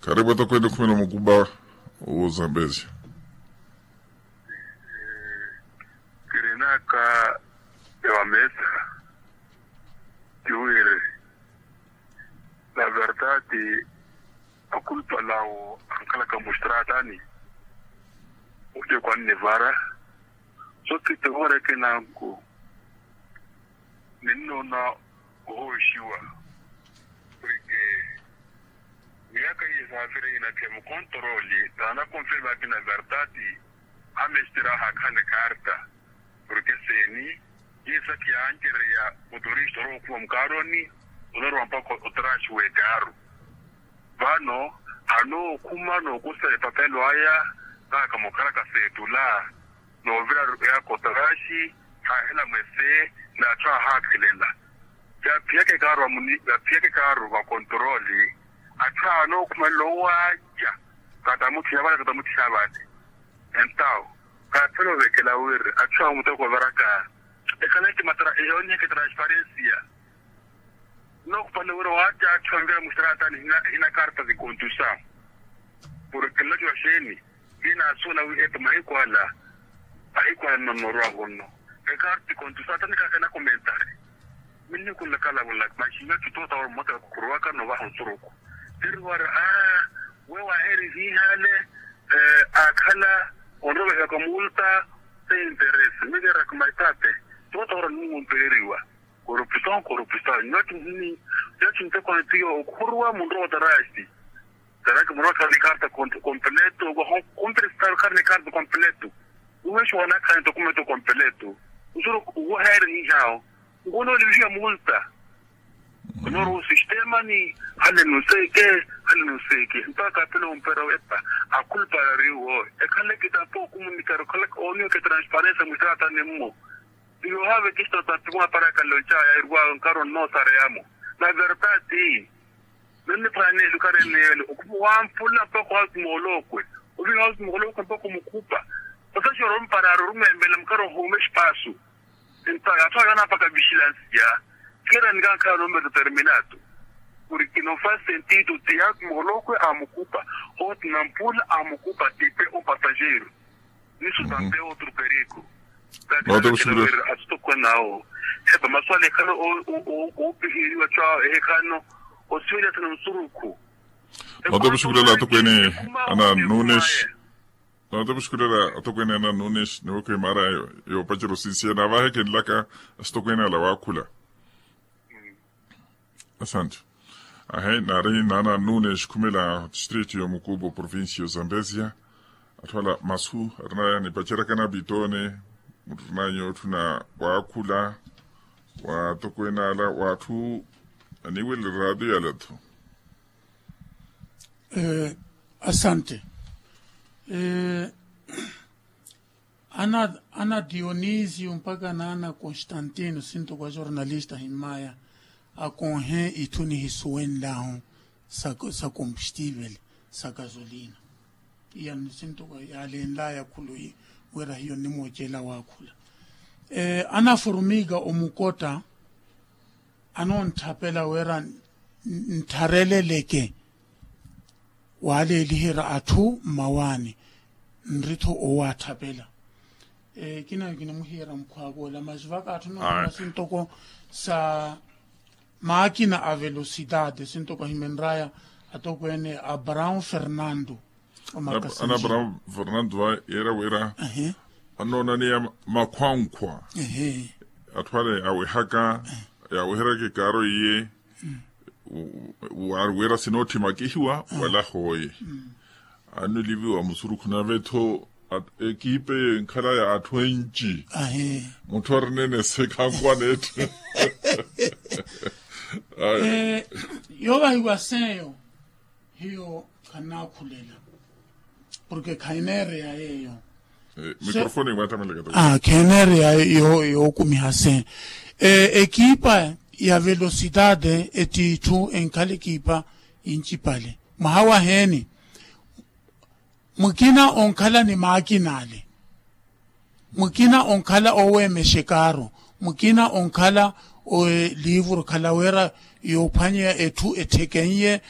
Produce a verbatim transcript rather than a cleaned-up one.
Karibu atokwene khumela omukuba. Ozambezia. Kirinaka ewa mesa kiwiri na verdade. Akulpa lawo ankhalaka mustratani. Ote kwannivara so kitevorekenanku. Ninnoona ohooxiwa porke miyaka iye saafiri inakhe mukontoroli taana konfirme akina verdade. Amesitira ahaakhala ekarta porke seeni iye sakhi yaancereya otoristi orookhuma mukaaroni. Onarowa mpakha otraxi w'ekaaru vano anookhuma nookusa epapelo aya. Naka mukhalaka seetula noovira yakotaraaxi haahela mwese n'atthu ahaakhelela. Yaaphiyaka ekaaru vakontoroli atthu anookhumelela owaaca. Katamutthiha vale katamutthiha vale entawo kaaphela ovekela wiri atthu awo muteko ovaraka. Ekhala eti matara eyooniheke transparensia. Nookupale wira waaca atthu anvira mustaratani hina karta zikontusa. Porke nlaciwa xeeni? Hinaasuwela wi eto mahiku ala ahiku ala nnonorwa vonno. Ekarta zikontusa tanikaka enakomentari. Minniku nlakalavolaka maxi nyoci toota wala mmota khuruwaka noovaha nsuruku. Tiri wara aa we waaheri hiihale. Akhala onrovehiwaka multa se interesi mikeraka maitape. Toota wara nunwompereriwa korupusao korupusao nyoci ntekhoni tiyo okhuruwa munrowa otarasi. Taraki munrowa khari ni karta kompleto waho kumpirisitari khari ni karta kompleto. Uwexiwa wanakhani tokumeto kompleto. Usuru uweheeri hihawo nkunoolivihiwa multa. Onooruwa osistemani hale nuseke hale nuseke mpaka apele ompera wepa. Akhulupalariwo ekhaleke tampo okumunikari okhaleke ooniweke transparensia mwisaatani mmo. Iwe ohaavekista otapiwa aparaka lonca yairwa nkaro nnoosareyamo na verdade. Nonniphwaneeli okareneele okhumu wampula mpakha ohautuma olokwe oviha ohautuma olokwe mpakha omukhupa. Osaxi oromparaari orumwembela mukari ohuuma exipaasu. Entawo yaathu ayo anaapaka vixilansiya. Kira nikankhala numero terminato porke no fasi sentido ti yaatuma olokwe amukhupa. Otina mpula amukhupa tipe o pasajeiro. Niso tampe otro perigo. Note kuxukulela. Asitokwena awo epa maswali ekhala oopiheriwa co awo ehekhano osiwelya sina nsurukhu. Note kuxukulela atokwene ana nunes. Note kuxukulela atokwene ana nunes niwekho emara yoopacera osinsiya navahekenlaka asitokwene ala waakhula. Asante. Ahe nari nana nune xikhumela district yomukubo provincia zambezia. Atthu ala masu arinaya nipacerakana pitone murinanyu otthuna waakhula waatokwenala waatthu aniwele radio yalatho. Asante. Ana dionisio mpaka naana constantino sinto kwa jornalista himmaya akonhe itthu nihisuwenlahu sa combustivel sa gasolina. Iya nisinto kwa yaalenlaya khuluyi wira hiyo nnimwoocela waakhula. Ana formiga omukotta anoonttapela wira ntthareleleke waaleeliherya atthu mmawaani nri-tho owaatthapela. Kinayo kinimuhiyeerya mukhwaak'ola masi vaka atthu noohimya sintoko sa maakina a velocidade sintoko ahimenraya atokweene abraão fernando. Ana abraão fernando va yeera wira anoonaniya makhwankhwa atthu ale yaawehaka yaaweheryaka ekaaro iye wira sinootthi makihiwa wala hooye. Annuliviwa musurukhu nave-tho ekiipa eyo enkhala ya atthu enci. Mutthu arinene se khankwaneetthe. Yoovahiwa seyo hiyo khanaakhulela porke khahineereya yeeyo. Mikrofooni mwaathameleka. Kheneereya yookumiha se ekiipa ya velocidade ettiitthu enkhala ekiipa yincipale mwaha waheeni. Mukina onkhala ni maakina ale mukina onkhala oweemexa ekaaru mukina onkhala liivuru khala wira yoophwanyeya etthu ettheken'ye